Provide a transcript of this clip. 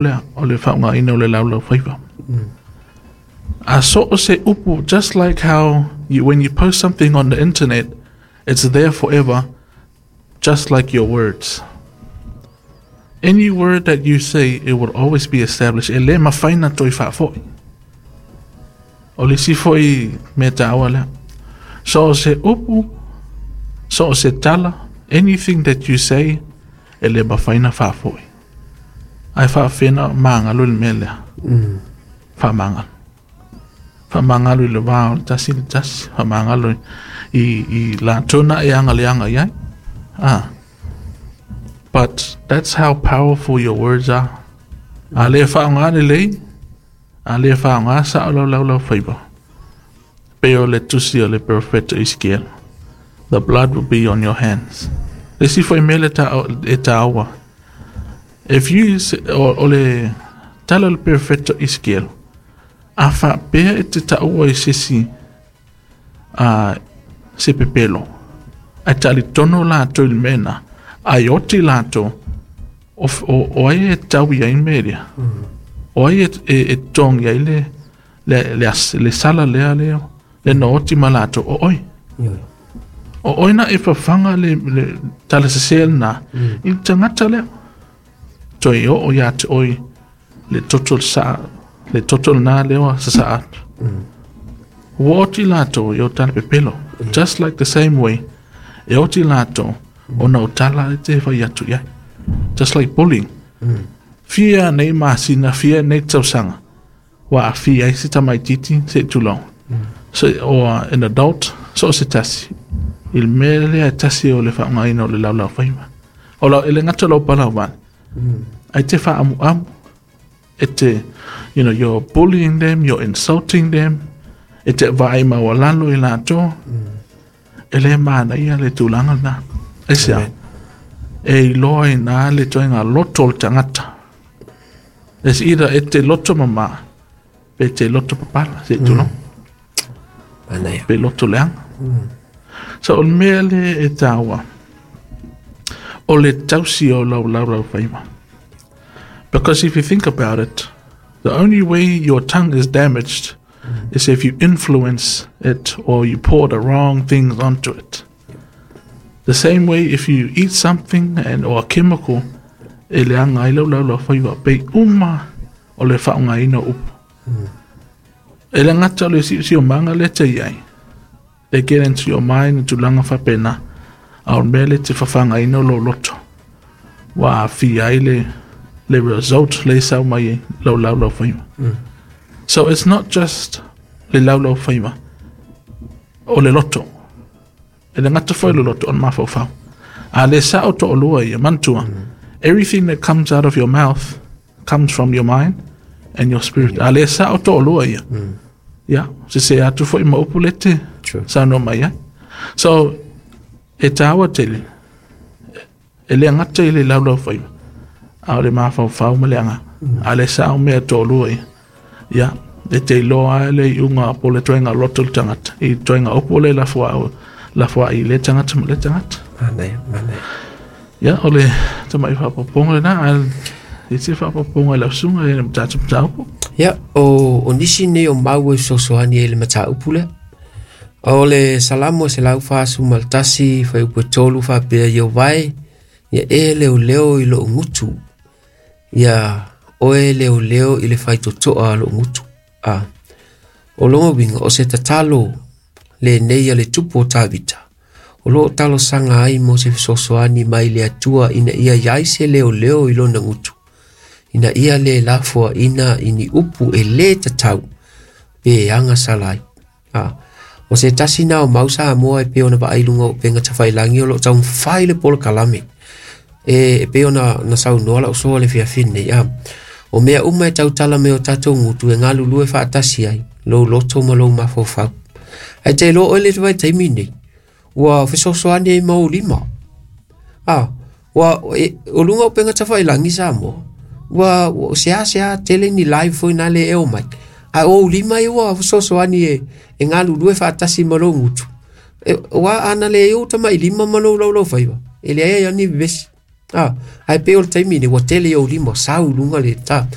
Lea o le faaaogaina o le laulaufaiva. A so o se upu, just like how you, when you post something on the internet, it's there forever, just like your words. Any word that you say, it will always be established. E le mafai ona toe faafoi. O le isi foi mea taua lea. So o se upu, so o se tala, anything that you say, e le mafai ona faafoi. Ae faafefea ona magalo i le mea lea? Faamagalo. Faamagalo i le va o le tasi le tasi. Faamagalo i latou na e agaleaga i ai. Ah. But that's how powerful your words are. A le faaaoga lelei, a le faaaoga sao lau laulaufaiva. Pei o le tusi o le perofeta Esekiela. The blood will be on your hands. Le isi foi mea le ta, e taua. If you, o le tala o le perofeta Esekiela, a faapea e te taua i se isi se pepelo, ae talitonu latou i le mea lena, ae oti latou, o ai e tau i ai le mea lea? O ai e togi ai le sala lea le na oti ma latou? O oe. O oe na e fafaga le tala sese lena i le tagata lea. Toe oo ia te oe le toto sa le toto lena lea ua sasaa atu. Ua oti latou i o tala pepelo. Just like the same way, e oti latou ona o tala e te fai atu i ai. Just like bullying. Fia nei masina, fia nei tausaga, ua aafia ai se tamaitiiti se i tulou. So, or an adult, so o se tasi. I le mea lea e tasi o le faaaogaina o le laulaufaiva. O lau, e le gata o lau palauvale. Ae te faaamuamu. E te, you're bullying them, you're insulting them. E te vaai maualalo i latou. E le manaia le tulaga lena. Aisea? E iloa i na le toega loto o le tagata. It's either e te loto mama, pe te loto papala, se tulou. Manaia. Pe loto leaga. So o le mea le e taua, o le tausi o lau laulaufaiva. Because if you think about it, the only way your tongue is damaged is if you influence it or you pour the wrong things onto it. The same way if you eat something and or a chemical, e leaga ai lau laulaufaiva, pe uma o le faaaogaina o upu. E le gata o le siosiomaga lea te i ai. They get into your mind tulaga faapena. A o le mea le te fafagaina o lou loto. Ua aafia ai le result le sau mai ai lau laulaufaiva. So it's not just le laulaufaiva, o le loto. E le gata foi le loto o le mafaufau. A le sao to'alua ia, manatua. Everything that comes out of your mouth comes from your mind and your spirit. A le sao to'alua ia. Ia, se se atu foi ma upu le te saunoa mai ai. So, e taua tele, e le gata i le laulaufaiva, a o le mafaufau ma le agaga. A le sao mea to'alua ia. Ia, e te iloa ai le iuga po o le toega loto le tagata. I toega upu le lafoai i le tagata ma le tagata. Manaia, manaia. Ia, o le tamai faaopoopoga lena, ae e se faaopoopoga i lau susuga i le tatou mataupu. Ia, o nisi nei o mau e fesoasoani ai le mataupu lea. O le Salamo e 141 fuaiupu e 3 faapea, Ieova e, ia e leoleo i lou gutu. Ia oe leoleo i le faitotoa a lou gutu. A. O lona uiga, o se tatalo lenei a le tupu o Tavita. O loo talosaga ai mo se fesoasoani mai le Atua ina ia iai se leoleo i lona gutu. Ina ia le lafoaina i ni upu e lē tatau pe agasala ai. A. O se tasi na o mau Samoa e pei ona vaai luga o upega tafailagi o loo taumafai le polokalame. E pei ona na saunoa lau uso le fiafi nei. A. O mea uma e tautala mai o tatou gutu e galulue faatasi ai, lou loto ma lou mafaufau. Ae te iloa oe le vaitaimi nei, ua fesoasoani ai ma ou lima. A, ua o luga o upega tafailagi Samoa, ua sea tele ni live foi na le e o mai. A o lima e ua fesoasoani e galulue faatasi ma lou gutu. E, ua ana le eu tamai lima ma lou laulaufaiva. E leai ai ni vevesi. A, ae pei o le taimi lenei ua tele i ou lima sau i luga le ta.